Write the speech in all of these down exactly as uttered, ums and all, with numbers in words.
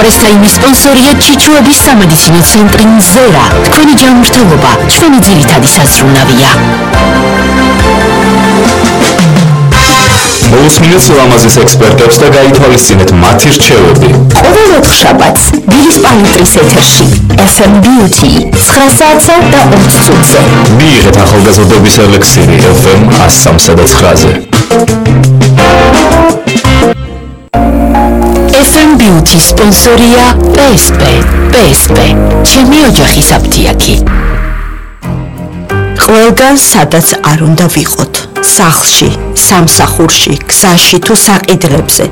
პრესტაიმის სპონსორია ჩიჩუების სამედიცინო ცენტრი მზერა. თქვენი ჯანმრთელობა ჩვენი ძირითადი საზრუნავია. მოусმინეთ ლამაზის ექსპერტებს და გაითვალისწინეთ მათი რჩევები. ყოველ ოთხშაბათს დილის პალიტრის ეთერში ეფ ემ Beauty ცხრა საათსა და ოც წუთზე. მიიღეთ ახალგაზრდობის ელექსირი ეფ ემ one oh three და nine-ზე. ეფ ემ Beauty სპონსორია პი ეს პი. პი ეს პი ჩემი ოჯახის აფთიაქი. ყველგან სადაც არ უნდა ვიყოთ, სახლში, სამსახურში, გზაში თუ საყიდლებზე.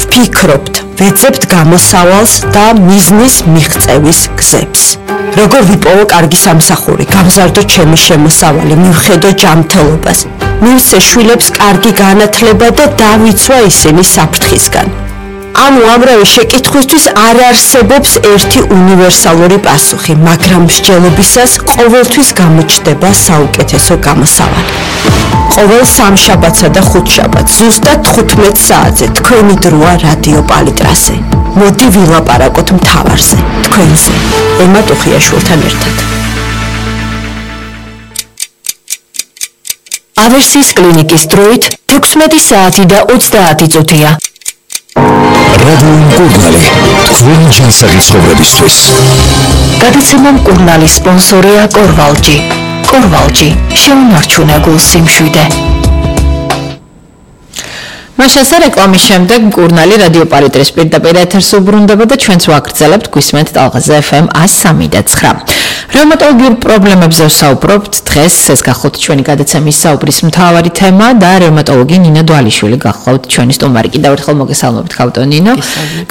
ვფიქრობთ, ვეძებთ გამოსავალს და მიზნის მიღწევის გზებს. როგორ ვიპოვო კარგი სამსახური, გავზარდო ჩემი შემოსავალი, მივხედო ჯანმრთელობას, მივსე შვილებს კარგი განათლება და დავიცვა ისინი საფრთხისგან. ანუ ამრავი შეკითხვისთვის არ არსებობს ერთი უნივერსალური პასუხი, მაგრამ მსჯელობისას ყოველთვის გამოჩნდება საუკეთესო გამოსავალი. ყოველ სამშაბათსა და ხუთშაბათს ზუსტად თხუთმეტ საათზე თქვენი დროა რადიო პალიტრაზე. მოდი ვილაპარაკოთ მთავარზე, თქვენზე, ემა ტუხიაშვილთან ერთად. ავერსის კლინიკის დროით ექვსმეტი საათი და ოცდაათი წუთია. რადიო მკურნალი, თქვენი ჯანსაღი ცხოვრებისთვის. გადაცემა მკურნალის სპონსორია კორვალჯი. კორვალჯი, შეუნარჩუნე გულს სიმშვიდე. მაშასა რეკლამის შემდეგ მკურნალი რადიო პალიტრის პირდაპირ ეთერს უბრუნდება და ჩვენც ვაგრძელებთ გვისმენთ ტალღაზე ეფ ემ one oh three და nine. რევმატოლოგიურ პრობლემებზე ვსაუბრობთ. დღეს ეს გახლავთ ჩვენი გადაცემის საუბრის მთავარი თემა და რევმატოლოგი ნინო დვალიშვილი გახლავთ ჩვენი სტუმარი. კიდევ ერთხელ მოგესალმებით ქავტო ნინო.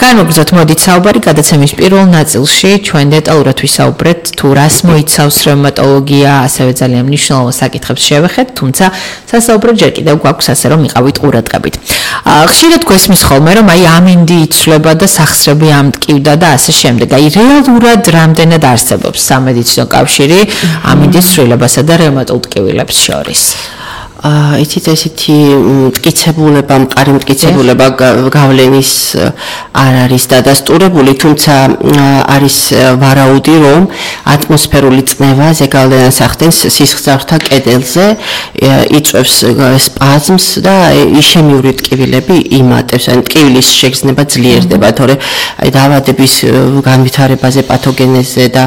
განვაგრძოთ მოდით საუბარი გადაცემის პირველ ნაწილში ჩვენ დეტალურად ვისაუბრეთ თუ რას მოიცავს რევმატოლოგია, ასევე ძალიან მნიშვნელოვან საკითხებს შევეხეთ, თუმცა სასაუბრო ჯერ კიდევ გვაქვს ასე რომ იყავით ყურადღებით. ხშირად გვესმის ხოლმე რომ აი ამინდი იცვლება და სახსრები ამტკივდა და ასე შემდეგ. აი რეალურად რამდენად არსებობს სამედიცინო კავშირი ამინდის ცვლილებასა და რევმატულ ტკივილებს შორის? იცით ესეთი მტკიცებულება, მყარი მტკიცებულება გავლენის არ არის დადასტურებული, თუმცა არის ვარაუდი, რომ ატმოსფერული წნევა ზეგავლენას ახდენს სისხლძარღვთა კედელზე, იწვევს სპაზმს და ისემიური ტკივილები იმატებს, ან ტკივილის შეგრძნება ძლიერდება, თორე აი დაავადების განვითარებაზე, პათოგენეზზე და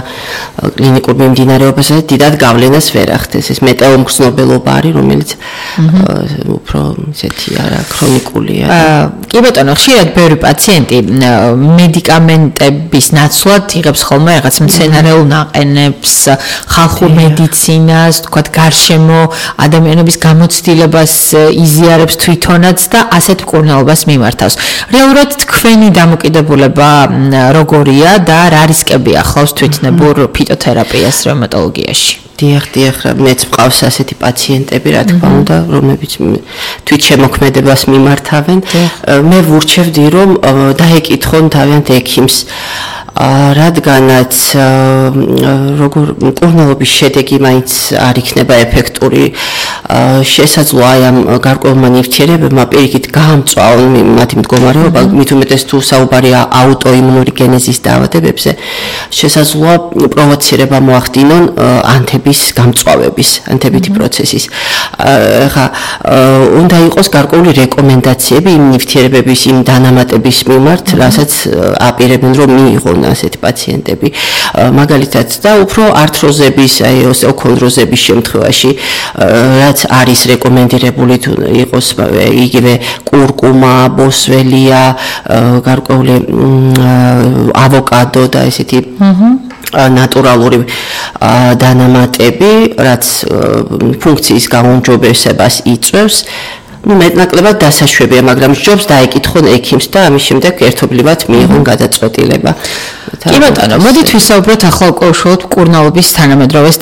კლინიკურ მიმდინარეობაზე დიდად გავლენას ვერ ახდენს. ეს მეტეომგრძნობელობა არის, რომელიც უფრო ისეთი არა ქრონიკულია. კი ბატონო, ხშირად ბევრი პაციენტი მედიკამენტების ნაცვლად იღებს ხოლმე რაღაც მცენარეულ ნაყენებს, ხალხურ მედიცინას, თქვათ გარშემო ადამიანების გამოცდილებას იზიარებს თვითონაც და ასეთ მკურნალობას მიმართავს. რეალურად თქვენი დამოკიდებულება როგორია და რა რისკები ახლავს თვითნებურ ფიტოთერაპიას რევმატოლოგიაში? დიახ, დიახ, მეც მყავს ასეთი პაციენტები, რა თქმა უნდა, რომლებიც თვითშემოქმედებას მიმართავენ. მე ვურჩევდი, რომ დაეკითხონ თავიანთ ექიმს, რადგანაც როგორ მკურნალობის შედეგი მაინც არ იქნება ეფექტური, შესაძლოა აი ამ გარკვეულმა ნივთიერებებმა პირიქით გაამწვავონ მათი მდგომარეობა, მით უმეტეს თუ საუბარია აუტოიმუნური გენეზის დაავადებებზე, შესაძლოა პროვოცირება მოახდინონ ანთების გამწვავების, ანთებითი პროცესის. ხა უნდა იყოს გარკვეული რეკომენდაციები იმ ნივთიერებების, იმ დანამატების მიმართ, რასაც აპირებენ რომ მიიღონ ასეთი პაციენტები. მაგალითად და უფრო ართროზების, აი ოსტეოქონდროზების შემთხვევაში, რაც არის რეკომენდირებული თუ იყოს იგივე კურკუმა, ბოსველია, გარკვეული ავოკადო და ესეთი ნატურალური დანამატები, რაც ფუნქციის გაუმჯობესებას იწვევს. ну მეტნაკლებად დასაშვებია, მაგრამ ჯობს დაეკითხონ ექიმს და ამის შემდეგ ერთობლივად მიიღონ გადაწყვეტილება. კი ბატონო, მოდით ვისაუბროთ ახლა უკვე უშუალოდ მკურნალობის თანამედროვე